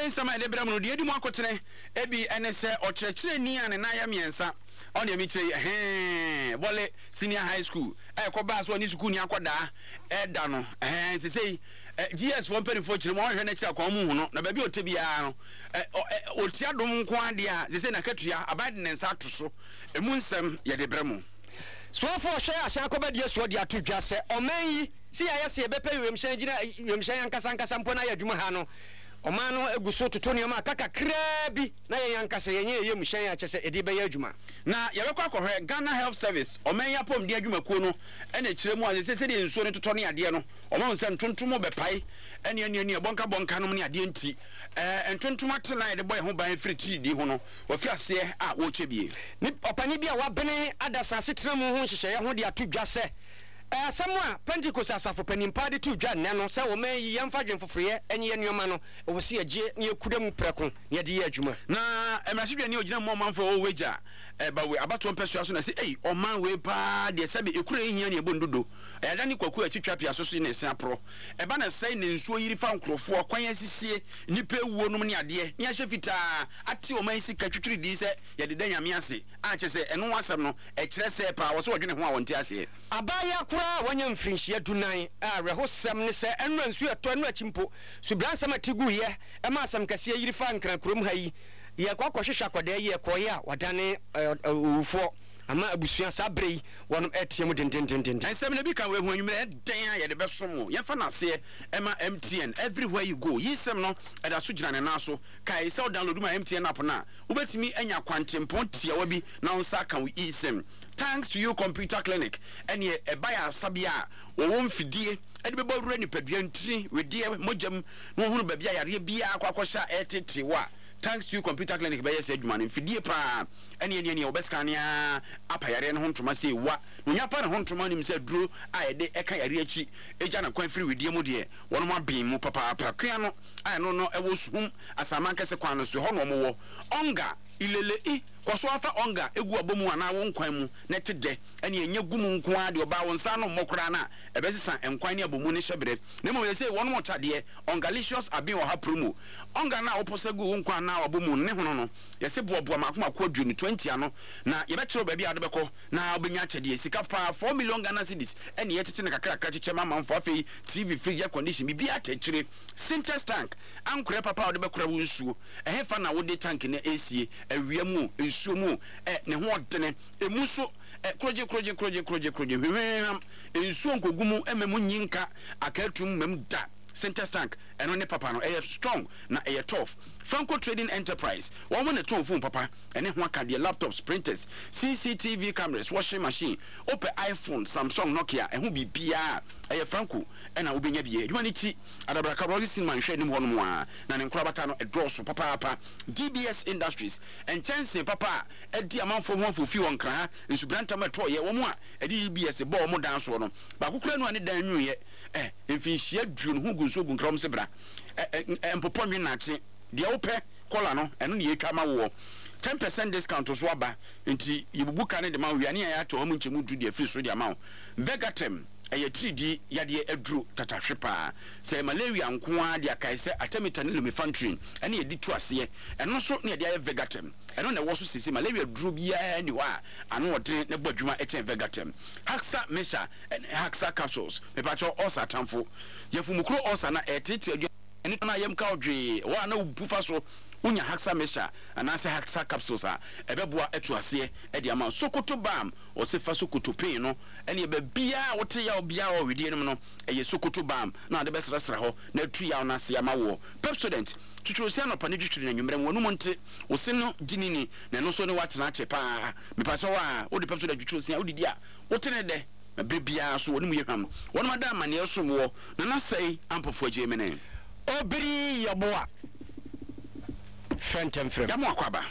Anwummerɛ nsɛm a yɛde brɛ mo no, deɛ ɛdi mu akotene bi ne sɛ ɔkyerɛkyerɛni a ne nan yɛ mmiɛnsa, ɔno deɛ mekyerɛ yi, ɛhɛɛ, Bɔle Senior High School a ɛkɔbaa sɛ ɔne sukuuni akɔdaa ɛda no, ɛhɛɛ, sesei GS foɔ mpanimfoɔ kyerɛ mu a wɔhwɛ n'akyiri akwan wɔn hu no, na baabi a ɔte biara no, ɔtia dom nko ara deɛ a, sesei n'akatua, aban de ne nsa ato so. Emu nsɛm yɛde brɛ mo. Soafoɔ a ɔhwɛ ahyɛn akɔbadie soɔ de ato dwa sɛ ɔman yi sɛ yɛayɛ sɛ yɛbɛpɛ wiemhyɛn gyina wiemhyɛn ankasa ankasa mpo na ayɛ adwuma ha no, ɔman no gu so toto nneɛma aka kakraa bi na yɛn ankasa yɛnyɛ yɛn wiemhyɛn a kyerɛ sɛ yɛde bɛyɛ adwuma. Na yɛbɛkɔ akɔhwɛ Ghana Health Service, ɔman yi apɔmuden adwumakuo no na ɛkyerɛ mu a seesei sɛdeɛ nsuo no totɔ ne adeɛ no, wɔahu sɛ ntontom rebɛpae ne ɛne ɛne ɛbɔnkabɔnka nom ne adeɛ nti, ɛɛ ntontom atena a yɛde bɔ yɛn ho ban firi tiridii ho no, wɔafi aseɛ a wɔrekyɛ bie. Ne ɔpanin bi a wabene adasa asetena mu ho nhyehyɛeɛ ho de ato dwa sɛ, Ɛyɛ asɛm a Pentekoste asafo panin paa de too dwa nnɛ no sɛ ɔman yi yɛmfa adwene foforoyɛ nyeyɛ nneɛma no, ɛwɔ sɛ yɛgye na yɛkura mu prɛko na yɛde yɛ adwuma. Na mmarahyɛdwani a ɔgyina mu ma ɔmanfoɔ a wɔwɔ Wagya Bawe abatoɔ mpɛsoa so na ɛse, Ei, ɔman wei paa deɛ sɛbe ekuro a ɛhia ne ɛbɔ ndodo, ɛyɛ ada ne kwaku a ɛte twa pia so so na ɛsen aporɔ, ɛba na sɛe na nsuo yiri fa nkorɔfoɔ, kwan asisie, nnipa awuo nom ne adeɛ, ne ahyɛ fitaa, ate ɔman sika twitwiridii sɛ yɛde da Nyame ase a kyerɛ sɛ ɛno ho asɛm no ɛkyerɛ sɛɛ paa wɔ sɛ wɔdwene ho a wɔnte aseɛ. Abaayewa koraa a wanya mfirinhyia dunan a awerɛhosɛm ne sɛ ɛnora nsuo ɛtɔ ɛno akyi mpo subransɛm a ɛte guiɛ ɛma asɛm kɛseɛ yiri faa Nkran kurom ha yi yɛkɔ akɔhwehwɛ akwadaa yi ɛkɔeɛ a wadane owufoɔ ama abusua saa berɛ yi wɔnom ɛretea mu dendendenden. Nsɛm no bi ka wei ho anwummerɛ ɛdɛn a yɛde bɛsom wo yɛmfa no aseɛ ɛma MTN everywhere you go yi nsɛm no ɛda so gyina ne nan so Kae sɛ wo download ma MTN app no a, wobɛtumi anya kwantempɔn tiawa bi na wo nsa aka wo eSIM. Thanks to you Computer Clinic ɛneɛ ɛba yɛ asabea a wɔwɔ mfidie de bɛbɔ wura nipadua ntini, wedeɛ, mogya mu na wɔhunu baabi a yareɛ biara akɔ akɔhyɛ a ɛretetee wo a, Thanks to you Computer Clinic bɛyɛ saa adwuma no. Mfidie paa ɛneɛ neɛ neɛ wɔbɛscanne ara apa yareɛ no ho ntoma sei wa na onya pa ne ho ntoma nim sɛ aduro a yɛde ɛka yareɛ akyi gya no kwan firi wedeɛ mu deɛ wɔnom aben mu papaapa. Kua no a ɛno no ɛwɔ Suhum Asaman kɛse kwan no so, ɛhɔ na wɔwɔ. Ɔnga, Ilele i, kɔ so ara fa ɔnga gu w'abɔmu anaa wo nkwan mu na ɛte dɛ, ɛnneɛ ɛnyɛ gu mu nko ara deɛ ɔbaa wo nsa ano mmɔ koraa no a ɛbɛsesa nkwan ne abɔmu no hyɛberɛ. Na mmom seesei wɔnom ɔkya deɛ, Ɔngalicious Aben Ɔha Promo. Ɔnga no a woposa gu wo nkwan anaa w'abɔmu no ne hono no, yɛse boaboa mmaako mmaako aduonu, 20, ano na yɛbɛkyerɛ wo baabi a wode bɛkɔ na wobɛnya akyɛdeɛ. Sika paa, 4 million Ghana cedis, ɛne yɛkyekye no kakrakra kyekyɛ ma amanfoɔ. Afei TV, fridge, air condition, biribiara kyɛ akyire. Sintex tank, ankorɛ papa a wode bɛkora wo nsuo. Ɛhefa na wode tank no resie? Awia mu o, nsuo mu o, ɛ, ne ho ɔdene. Emu nso, ɛ, korogye, korogye, korogye, korogye, korogye, hwehwehwam. Nsuo nkɔgu mu mma mu nyi nka akaatum mma mu da. Sintex tank, ɛno ne papa no. Ɛyɛ strong na ɛyɛ tough. Franco Trading Enterprise, wɔn na ɛtɔn phone papa, ɛne ho akadeɛ, laptops, printers, CCTV cameras, washing machine. Wopɛ iPhone, Samsung, Nokia, ɛho biribiara a, ɛyɛ Franco na wobɛnya bi. Adwuma no ti, Adabraka Royal Cinema nhwɛ anim hɔnom a, na ne nkorabata no ɛdɔɔso papaapa. DBS Industries, nkyɛnsee papa a adi amanfoɔ ho afofi wɔ Nkran ha, nsubrantam a ɛtɔeɛ, wɔn a ɛde DBS bɔɔ wɔn dan soɔ no, baako koraa nu a ne dan nwuiɛ, eh, mfinhyia aduonu ho gu nsuo gu Nkran, wɔn se bra, eh, eh, mpopɔ nwe nakye, deɛ wopɛ, kɔla no, ɛno na yɛtwa ma woɔ. 10% discount nso aba, nti yɛbubu ka no de ma wo wie a, ne yɛn ato hɔ mu nkyɛmu du de afiri soro de ama wo. Vegatem. Ɛyɛ atiridii yadeɛ aduro tatahwe paa. Sɛ ɛyɛ malaria nko ara deɛ a, kae sɛ artemether ne lumefantrine na yɛde tu aseɛ. Ɛno nso na yɛde ayɛ Vegatem. Ɛno na ɛwɔ so seesei. Malaria duro biara nni hɔ a ano ɔdene na ɛbɔ adwuma kyɛn Vegatem. Haxa Mixture ne Haxa Capsules. Mepakyɛw, ulcer atamfo. Yafumukuro ulcer no a ɛreteetee aduane no a yam ka wo dwee, ɛhɔ a na wobu fa so. Wonya Haxa Mixture anaasɛ Haxa Capsules a, ɛbɛboa atu aseɛ de ama wo. Sokoto Balm. Ɔse fa sokoto pin no ɛneɛ baabiaa a wote yaw biaa wɔ wedeɛ no mu no ɛyɛ sokoto balm na wode bɛsrasra hɔ na atu yaw no ase ama woɔ. Pepsodent, twitwi wo se anɔpa ne twitwiri no anwummerɛ ma w'anum nte, wo se no gye ne ni na ɛno nso ne wo atena akyɛ paa. Mepakyɛw a wode Pepsodent twitwi wo se a wodidi a wote ne dɛ na berɛ biaa nso w'anum yɛ hwam. Wɔnom ada amaneɛ som woɔ Nana Sɛe Ampofo Agyei Mene. Obiri Yeboah, Frɛ ntɛm frɛ me. Yɛamo akwaaba.